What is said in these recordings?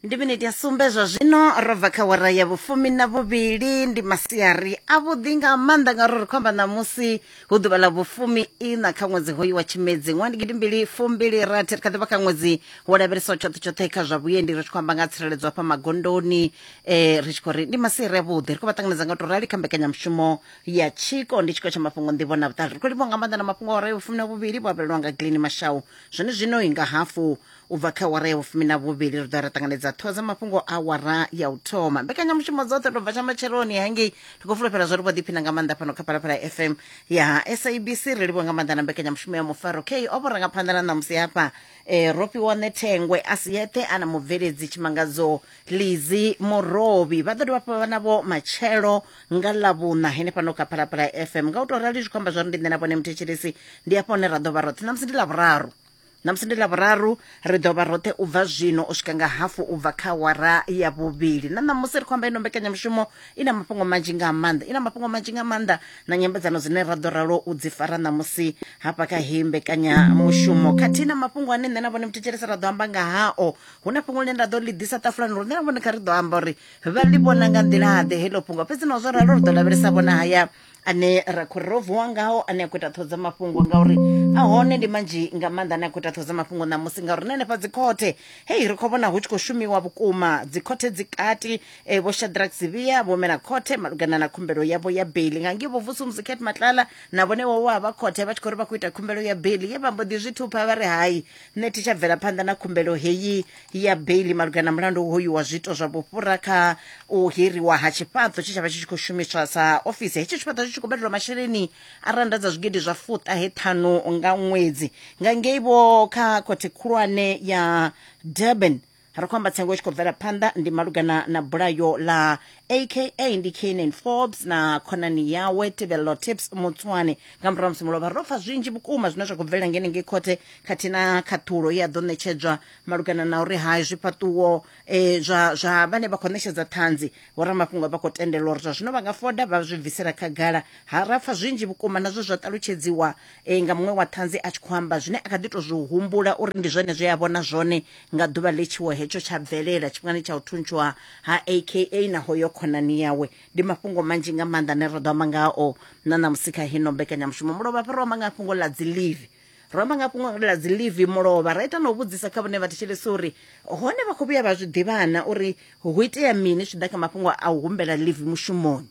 Ndi miniti ya sumbe zwa zwino ro bva kha wara ya vhufumi na vhuvhili. Ndi masiari avhuḓi nga maanḓa ngauri ri khou amba ṋamusi hu ḓuvha ḽa vhufumi ina kha ṅwedzi hoyu wa Tshimedzi ṅwaha ndi 2026. Ri kha ḓi vha kha ṅwedzi wo lavhelesaho tshoṱhe tshoṱhe kha zwa vhuendi, ri tshi khou amba nga tsireledzo hafha magondoni. Ri tshi khou ri ndi masiari avhuḓi, ri khou vha ṱanganedza nga u tou rali kha mbekanyamushumo ya Tshiko. Ndi tshiko tsha mafhungo, nḓivho na vhuṱali. Ri khou livhuwa nga maanḓa na mafhungo a wara ya vhufumi na vhuvhili vho avhelwa nga Gleni Mashau. Zwone zwino nga hafu U bva kha awara ya vhufumi na vhuvhili ri ḓo ra ṱanganedza ṱhoho dza mafhungo a awara ya u thoma. Mbekanyamushumo dzoṱhe ro bva tsha matsheloni hangei, ri khou fulufhela zwo ri vho ḓiphina nga maanḓa fhano kha Phalaphala FM ya SABC. Ri livhuwa nga maanḓa na mbekanyamushumo ya Mufaro K o vho rangaphanḓa na ṋamusi hafha. Ro fhiwa Ṋethengwe a si yeṱhe a na mubveledzi Tshimangadzo Lizi Murovhi. Vha ḓo dovha hafhu vha vha navho matshelo nga Ḽavhuṋa henefhano kha Phalaphala FM. Nga u tou rali zwi khou amba zwa uri ndi nṋe na vhone muthetshelesi ndi hafha hune ra ḓo vha roṱhe. Ṋamusi ndi Ḽavhuraru. Ṋamusi ndi Ḽavhuraru, ri ḓo vha roṱhe u bva zwino u swika nga hafu u bva kha awara ya vhuvhili. Na ṋamusi ri khou amba ino mbekanyamushumo i na mafhungo manzhi nga maanḓa, i na mafhungo manzhi nga maanḓa na nyambedzano dzine ra ḓo ralo u dzi fara ṋamusi hafha kha heyi mbekanyamushumo, khathihi na mafhungo ane nṋe na vhone muthetshelesi ra ḓo amba nga hao. Hu na fhungo ḽine nda ḓo ḽi ḓisa ṱafulani uri nṋe na vhone kha ri ḓo amba uri vha ḽi vhona nga nḓila-ḓe heḽo fhungo. Fhedzi naho zwo ralo ri ḓo lavhelesa vhona haya ane ra khou ro vuwa ngaho ane a khou ita ṱhoho dza mafhungo, ngauri a hone ndi manzhi nga maanḓa ane a khou ita ṱhoho dza mafhungo ṋamusi, ngauri na henefha dzikhothe hei ri khou vhona hu tshi khou shumiwa vhukuma. Dzikhothe dzi kati, vho Shadrack Sibiya vho mela khothe malugana na khumbelo yavho ya beili nga ngei vho Vusumuzi Cat Matlala na vhone vho vha vha khothe vha tshi khou ri vha khou ita khumbelo ya beili ye vha mbo ḓi zwi thupha vha ri hai nṋe thi tsha bvela phanḓa na khumbelo heyi ya beili malugana na mulandu hoyu wa zwiito zwa vhufhura kha u hiriwa ha tshifhaṱo tshe tsha vha tshi tshi khou shumiswa sa ofisi. Hetshi tshifhaṱo tshi tshi khou badelwa masheleni a rannda dza zwigidi zwa fuṱahe ṱhanu nga ṅwedzi. Nga ngei vho kha khothe khulwane ya Durban ri khou amba tsengo i tshi khou bvela phanḓa ndi malugana na bulayo ḽa aka ndi Kiernan Forbes na khonani yawe Tebello Tips Motsoane. Nga murahu ha musi mulovha ro pfa zwinzhi vhukuma zwine zwa khou bvelela ngei ngei khothe khathihi na khaṱhulo ye ya ḓo ṋetshedzwa malugana na uri hai zwifhaṱuwo zwa zwa vhane vha khou ṋetshedza ṱhanzi vhoramafhungo vha khou tendelwa uri zwa zwino vha nga foda vha zwi bvisela khagala. Ha ra pfa zwinzhi vhukuma na zwe zwa ṱalutshedziwa nga muṅwe wa ṱhanzi a tshi khou amba zwine a kha ḓi tou zwi humbula uri ndi zwone zwe a vhona zwone nga ḓuvha ḽe tshiwo hetsho tsha bvelela tshifhingani tsha u thuntshiwa ha aka na hoyo khonani yawe. Ndi mafhungo manzhi nga maanḓa ane ra ḓo amba ngao na ṋamusi kha hino mbekanyamushumo. Mulovha hafha ro amba nga fhungo ḽa dzi livi, ro amba nga fhungo ḽa dzi livi mulovha ra ita na u vhudzisa kha vhone vhathetshelesi uri hone vha khou vhuya vha zwi ḓivhana uri hu itea mini zwi tshi ḓa kha mafhungo a u humbela livi mushumoni.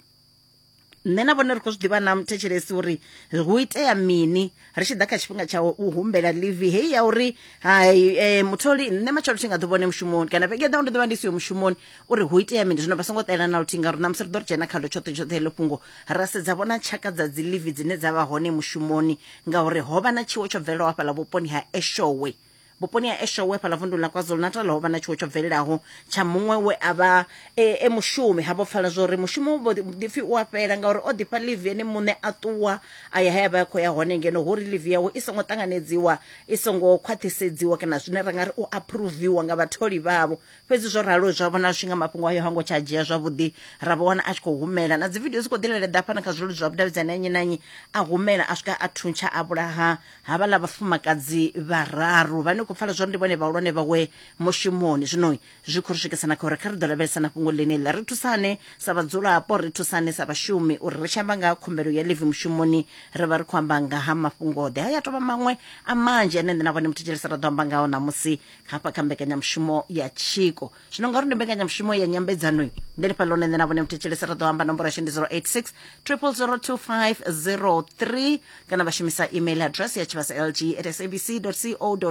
Nṋe na vhone ri khou zwi ḓivha na muthetshelesi uri hu itea mini ri tshi ḓa kha tshifhinga tsha u humbela livi heyi ya uri hai mutholi nṋe matshelo thi nga ḓo vhone mushumoni kana vhege ḓaho ndi ḓo vha ndi siho mushumoni, uri hu itea mini. Zwino vha songo ṱalela na luthihi ngauri ṋamusi ri ḓo ri dzhena khalo tshoṱhe tshoṱhe heḽo fhungo ra sedza vhona tshaka dza dzi livi dzine dza vha hone mushumoni, ngauri ho vha na tshiwo tsho bvelelaho hafhaḽa vhuponi ha Eshowe. Vhuponi ha Eshowe fhaḽa vunduni ḽa KwaZulu-Natal ho vha na tshiwo tsho bvelelaho tsha muṅwe we a vha e, e mushumi. Ha vho pfala zwa uri mushumo wo ḓipfi u a fhela ngauri o ḓifha ḽivi ene muṋe a ṱuwa a ya he a vha a khou ya hone, ngeno hu uri ḽivi yawe i songo ṱanganedziwa, i songo khwaṱhisedziwa kana zwine ra nga ri u aphuruviwa nga vhatholi vhavho. Fhedzi zwo ralo zwa vhona zwi nga mafhungo ayo hango tsha dzhia zwavhuḓi, ra vho wana a tshi khou humela na dzi vidio dzi khou ḓi leleḓa hafha na kha zwileludzi zwa vhudavhidzani ha nnyi na nnyi, a humela a swika a thuntsha a vhulaha havhaḽa vhafumakadzi vhararu vhane khou pfala zwori ndi vhone vhahulwane vhawe mushumoni. Zwino zwi khou ri swikisa na kha uri kha ri ḓo lavhelesa na fhungo ḽeneḽi, ri thusane sa vhadzulapo, ri thusane sa vhashumi uri ri tshi amba nga ha khumbelo ya ḽivi mushumoni ri vha ri khou amba nga ha mafhungo-ḓe. Haya tovha maṅwe a manzhi ane nṋe na vhone muthetshelesi ra ḓo amba ngao ṋamusi hafha kha mbekanyamushumo ya Tshiko. Zwino ngauri ndi mbekanyamushumo ya nyambedzano, ndi lifha ḽone nṋe na vhone muthetshelesi ra ḓo amba. Nomboro yashu ndi 086 0002503 kana vha shumisa email address ya tshivhasa lg at sabc co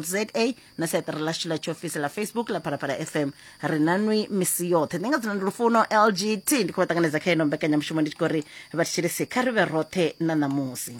za na siaṱari ḽashu ḽa tshiofisi ḽa Facebook ḽa Phalaphala FM. Ri na nwi misi yoṱhe. Nṋe nga dzina ndi Lufuno LGT, ndi khou vha ṱanganedza kha ino mbekanyamushumo ndi tshi khou ri vha thetshelesi kha ri vhe roṱhe na ṋamusi.